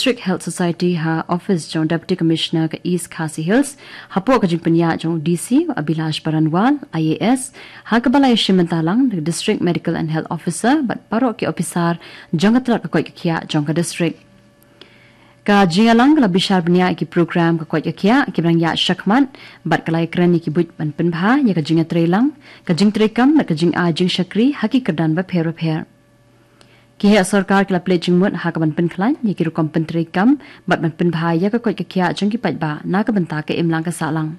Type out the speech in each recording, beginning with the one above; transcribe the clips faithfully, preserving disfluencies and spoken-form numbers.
District Health Society ha office jong Deputy Commissioner ka East Khasi Hills, hapoh ka jingpynïaid jong u D C Abhilash Baranwal, I A S, ha kaba la ïashim bynta lang da ka District Medical and Health Officer bad baroh ki ophisar jong ka tnat ka koit ka khiah jong ka district. Ka jingïalang ka la bishar bniah ïa ki program ka koit ka khiah kiba dang ïaid shakhmat bad ka la ïakren ïa ki buit ban pynbha ïa ka jingïatreilang, ka jingtreikam bad ka jingai jingshakri ha ki kyrdan bapher bapher. Ki heh sorkar ki la plie jingmut ha kaban pynkhlaiñ ïa ki rukom pyntreikam bad ban pynbha ïa ka koit ka khiah jong ki paidbah na ka bynta ka imlang ka sahlang.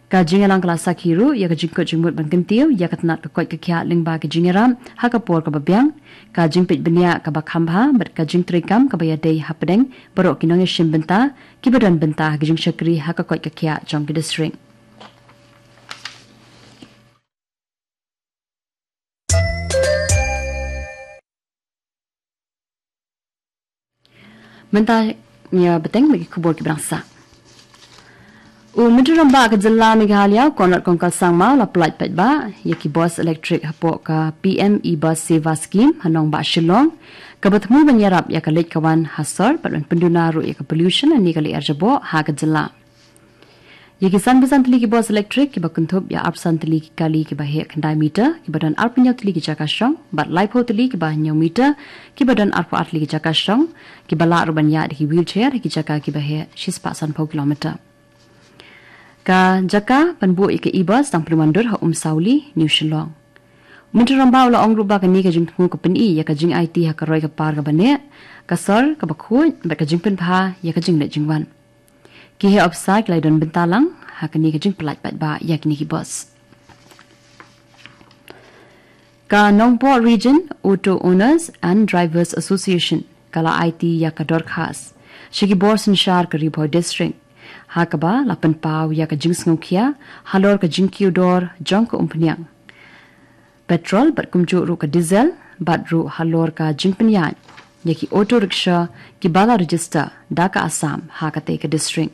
Ka jingïalang ka la sakhi ruh ïa ka jingkut jingmut ban kyntiew ïa ka tnat ka koit ka khiah lyngba ki jingïarap ha ka por kaba biang, ka jingpeit bniah kaba kham bha bad ka jingtreikam kaba ïadei hapdeng baroh ki nongïashim bynta kiba don bynta ha ka jingshakri ha ka koit ka khiah jong ki district. Mynta ngin ïa bteng bad ki khubor kiba dang sah. U Myntri Rangbah ka jylla Meghalaya, Conrad Kongkal Sangma, u la pyllait paidbah ïa ki bus elektrik hapoh ka P M E Bus Seva Scheme ha nongbah Shillong, kaba thmu ban ïarap ïa ka leit ka wan ha sor bad ban pynduna ruh ïa ka pollution lane ka lyer jaboh ha ka jylla. Ïa ki sanphew san tylli ki bus elektrik kiba kynthup ïa arphew san tylli ki kali kiba heh khyndai meter, kiba don arphew hynñiew tylli ki jaka shong, bad laiphew tylli kiba hynñiew meter, kiba don arphew ar tylli ki jaka shong, kiba lah ruh ban ïaid da ki wheelchair ha ki jaka kiba heh shispah sanphew kilometer. Ka jaka ban buh ïa ka e-bus dang pynwandur ha Umsawli, New Shillong. U Myntri Rangbah u la ong ruh ba kane ka jingthmu ka pyni ïa ka jingaiti ha ka roi ka par kaba neh, ka sor kaba khuid bad ka jingpynbha ïa ka jingleit jingwan. Ki heh ophisar ki la ïadon bynta lang ha kane ka jingpyllait paidbah ïa kine ki bus. Ka Nongpoh Region Auto Owners and Drivers Association ka la aiti ïa ka dorkhas sha ki bor synshar ka Ri Bhoi District, ha kaba la pynpaw ïa ka jingsngewkhia halor ka jingkiew dor jong ka umphniang petrol bad kumjuh ruh ka diesel, bad ruh halor ka jingpynïaid ïa ki auto rickshaw kiba la register da ka Assam ha katei ka district.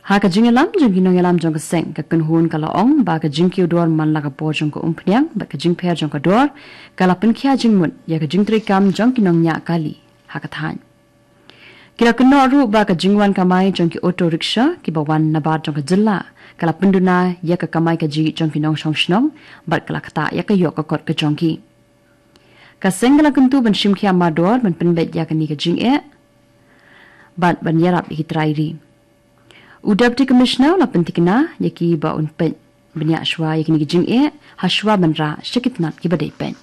Ha ka jingïalam jong ki nongïalam jong ka seng, ka kynhun ka la ong ba ka jingkiew dor man la ka por jong ka umphniang bad ka jingpher jong ka dor ka la pynkhia jingmut ïa ka jingtreikam jong ki nongñiah kali ha ka thaiñ. Ki la kynnoh ruh ba ka jingwan kamai jong ki auto rickshaw kiba wan nabar jong ka jylla ka la pynduna ïa ka kamai kajih jong ki nongshong shnong bad ka la ktah ïa ka ïoh ka kot ka jong ki. Ka seng ka la kyntu ban shim khia mardor ban pynbeit ïa kane ka jingeh bad ban ïarap ïa ki trai ri. U Deputy Commissioner u la pynthikna ïa ki ba un peit bniah shuwa ïa kine ki jingeh ha shuwa ban rah sha ki tnat kiba dei peit.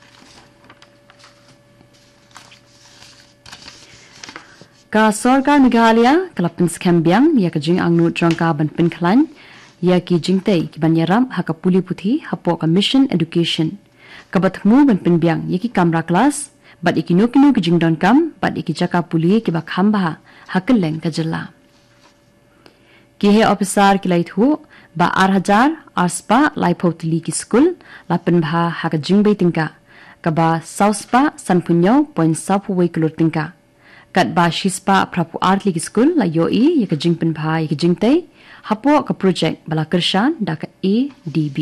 Ka Sorkar Meghalaya ka la pynskhem biang ïa ka jingangnud jong ka ban pynkhlaiñ ïa ki jingtei kiban ïarap ha ka pule puthi hapoh ka Mission Education, kaba thmu ban pynbiang ïa ki kamra klas bad ïa kino kino ki jingdonkam bad ïa ki jaka pule kiba kham bha ha kylleng ka jylla. Ki heh ophisar ki la ïathuh ba ar hajar ar spah laiphew tylli ki skul la pynbha ha ka jingbei tyngka kaba saw spah sanphew hynñiew point saw phew wei klur tyngka, katba shi spah phra phew ar tylli ki skul la ïohi ïa ka jingpynbha ïa ka jingtei hapoh ka projek ba la kyrshan da ka A D B.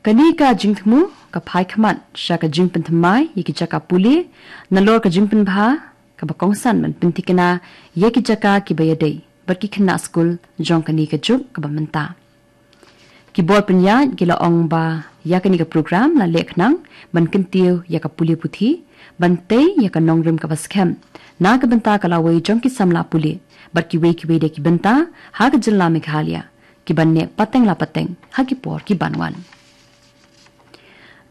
Kane ka jingthmu ka phai khmat sha ka jingpynthymmai ïa ki jaka pule nalor ka jingpynbha kaba kongsan ban pynthikna ïa ki jaka kiba ïadei bad ki khynnah skul jong kane ka juk kaba mynta. Ki bor pynïaid ki la ong ba ïa kane ka program la leh khnang ban kyntiew ïa ka pule puthi, ban tei ïa ka nongrim kaba skhem na ka bynta ka lawei jong ki samla pule bad kiwei kiwei de ki bynta ha ka jylla Meghalaya, kiban neh pateng la pateng ha ki por kiban wan.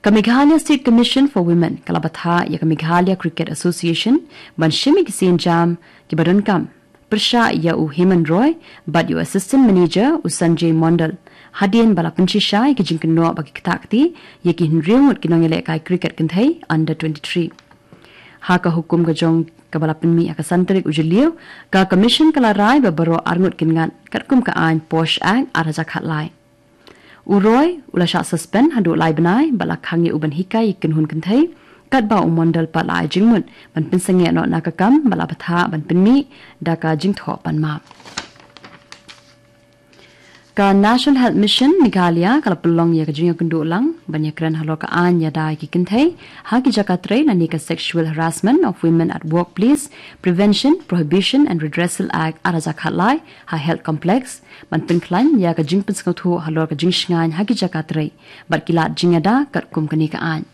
Ka Meghalaya State Commission for Women ka la bthah ïa ka Meghalaya Cricket Association ban shim ïa ki sienjam kiba donkam pyrshah ïa u Hemant Roy bad ïa u Assistant Manager u Sanjay Mondal, hadien ba la pynshisha ïa ki jingkynnoh ba ki ktah kti ïa ki hynriew ngut ki nongïalehkai cricket kynthei under twenty-three. Ha ka hukum ka jong kaba la pynmih ha ka san tarik u Jylliew, ka Commission ka la rai ba baroh arngut kin ngat katkum ka aiñ POSH Act ar hajar khatlai. U Roy u la shah suspend haduh lai bnai bad la khang ïa u ban hikai ïa ki kynhun kynthei, katba u Mondal pat la ai jingmut ban pynsangeh noh na ka kam ba la bthah ban pynmih da ka jingthoh pan map. Ka National Health Mission Meghalaya ka la pynlong ïa ka jingïakynduh lang ban ïakren halor ka aiñ ïada ïa ki kynthei ha ki jaka trei lane ka Sexual Harassment of Women at Workplace, Prevention, Prohibition and Redressal Act ar hajar khatlai ha Health Complex, ban pynkhlaiñ ïa ka jingpynsngewthuh halor ka jingshngaiñ ha ki jaka trei bad ki lad jingïada katkum kane ka aiñ.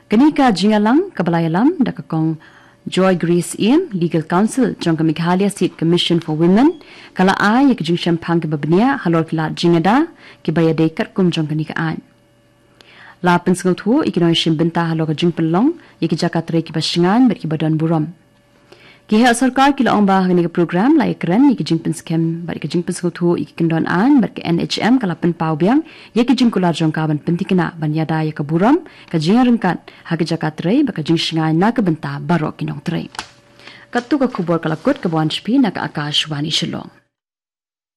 Kane ka jingïalang kaba la ïalam da ka Kong Joy Grace Ïem, Legal Counsel jong ka Meghalaya State Commission for Women, ka la ai ïa ka jingshemphang kaba bniah halor ki lad jingïada kiba ïadei katkum jong kane ka aiñ. La pynsngewthuh ïa ki nongshim bynta halor ka jingpynlong ïa ki jaka trei kiba shngaiñ bad kiba don burom. Ki heh sorkar ki la ong ba ha kane ka program la ïakren ïa ki jingpynskhem bad ïa ki jingpynsngewthuh ïa ki kyndon aiñ bad ka N H M ka la pynpaw biang ïa ki jingkular jong ka ban pynthikna ban ïada ïa ka burom, ka jingïaryngkat ha ki jaka trei bad ka jingshngaiñ na ka bynta baroh ki nongtrei. Katto ka khubor ka la kut kaba wan sha phi na ka Akashvani Shillong.